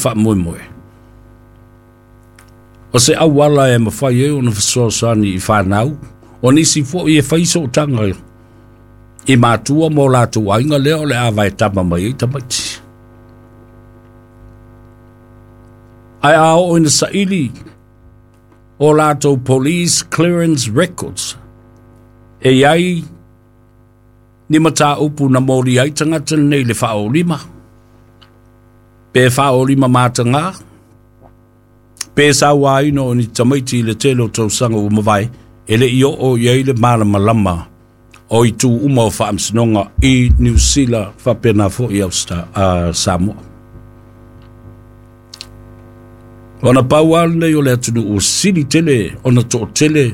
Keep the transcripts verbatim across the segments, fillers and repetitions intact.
faamoemoe. O se auala e mafai ai ona fesoasoani i fanau, o nisi fo'i e fai sootaga i matua mo latou aiga lea o le a vaetama mai ai tamaiti. Ae a oo ina saili o latou police clearance records, e iai ni mataupu na moli ai tagata lenei i le faaolima, pe faaolima matagā, pe sauaina o ni tamaiti i le tele o tausaga ua mavae, e le'i oo i ai le malamalama o itu uma o faamasinoga i Niu Sila faapena fo'i uh, Samoa. Ona pau lava lenei o le atunuu ua sili tele ona to'atele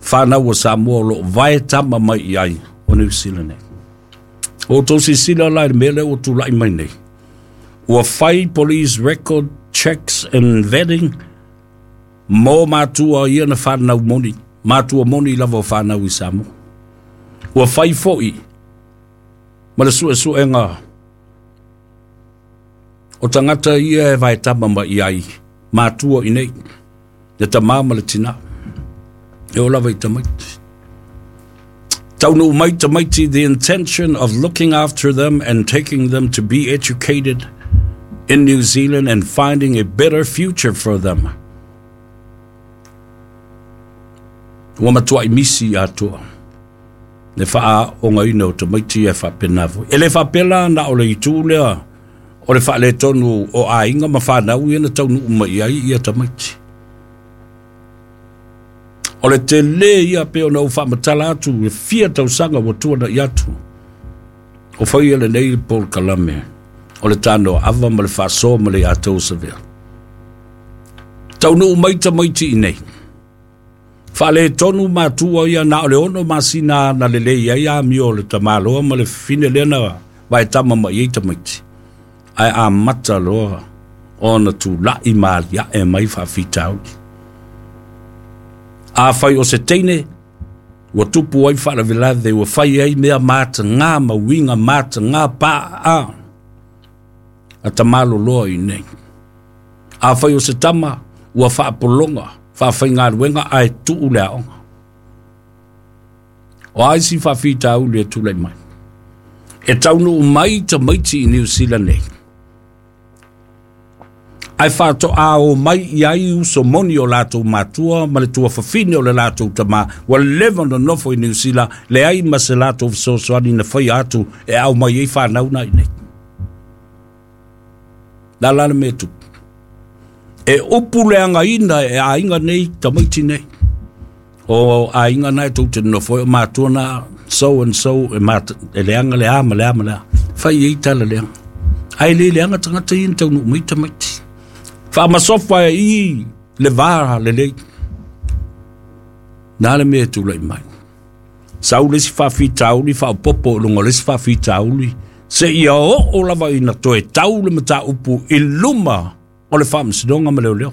fanau a Samoa o lo'o vae tama mai i ai o Niu Sila nei. O outou silasila la i le mea lea ua tula'i mai nei. Ua fai police record checks and vetting mo matua ia na fanau moni, matua moni lava o fanau i Samoa. Ua fai fo'i ma le su'esu'ega o tagata ia e vaetama mai ai matua i nei, le tamā ma le tinā, e oo lava i tamaiti. Taunuu mai tamaiti, the intention of looking after them and taking them to be educated in New Zealand and finding a better future for them. Ua matua'i misi atoa le faaaogaina o tamaiti e faapena foi. E le faapea la na o le itu lea o le faaletonu o aiga ma fanau ia na taunuu mai ai ia tamaiti. O le tele ia pe ona ou faamatala atu e fia tausaga ua tuana'i atu. O faia lenei polokalame o le tanoa ava ma le faasoa ma le ia tou savea. Taunuu mai tamaiti i nei. Faaletonu matua ia na o le ono masina na lelei ai amio o le tamaloa ma le fafine lea na vaetama mai ai tamaiti. Ae amata loa ona tula'i ma alia'e mai faafitauli. Afai o se teine, ua tupu ai faalavelave, ua fai ai mea matagā ma uiga matagā pa'a a tamaloloa i nei. Afai o se tama, ua faapologa, faafaigaluega ae tu'u le aoga. O a isi faafitauli e tula'i mai? E taunuu mai tamaiti i Niu Sila nei. Ae faato'a o mai i ai uso moni o latou matua ma le tuafafine o le latou tamā ua leva ona nofo i Niu Sila, leai ma se latou fesoasoani na faia atu e aumai ai fanau na i nei. La la le mea tupu. E upu leagaina e aiga nei tamaiti nei. O aiga na e tou te nonofo ai o matua na so and so e, mat, e leaga le a ma le a ma le a. Fai ai tala leaga. Ae le leaga tagata ia na taunuu mai tamaiti. Faamasofa e i le va lelei. Na le mea e tula'i mai. Sau le isi faafitauli faaopopo i luga o le isi faafitauli seia oo lava ina toe tau le mataupu i luma o le faamasinoga ma leoleo.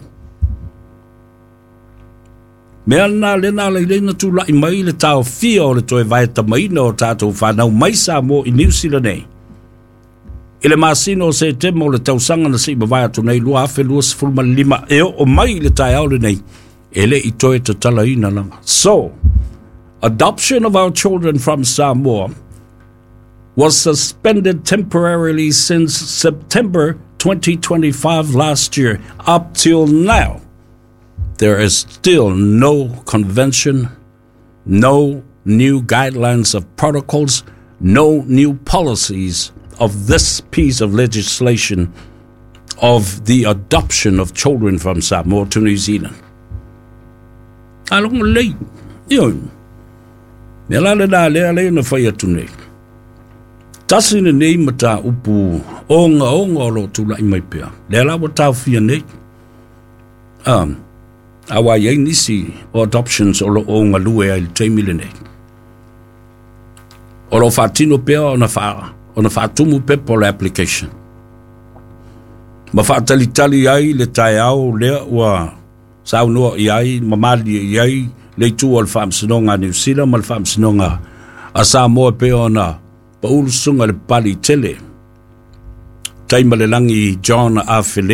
Mea lena lea na ala ai na tula'i mai le taofia o le toe vaetamaina o tatou fanau mai Samoa i Niu Sila nei. I le masina o Setema o le tausaga na se'i mavae atu nei lua afe luasefulu ma le lima e oo mai i le taeao lenei, e le'i toe tatalaina lava. So, adoption of our children from Samoa was suspended temporarily since September twenty twenty-five last year. Up till now, there is still no convention, no new guidelines of protocols, no new policies of this piece of legislation of the adoption of children from Samoa to New Zealand. Aloga lelei. Ioe. Mea la lena lea lea na fai atu nei. Tasi lenei mataupu ogaoga o loo tula'i mai pea. Lea la ua taofia nei. Um, auā i ai nisi o adoptions o loo galue ai i le taimi lenei. O loo faatino pea ona faa, ona faatumu pepa o le application. Ma faatalitali ai le taeao lea ua saunoa i ai ma malie i ai le itu o le faamasinoga a Niu Sila ma le faamasinoga a Samoa e pei ona paʻu le susuga i le Papaliitele Taimalelagi John Afele.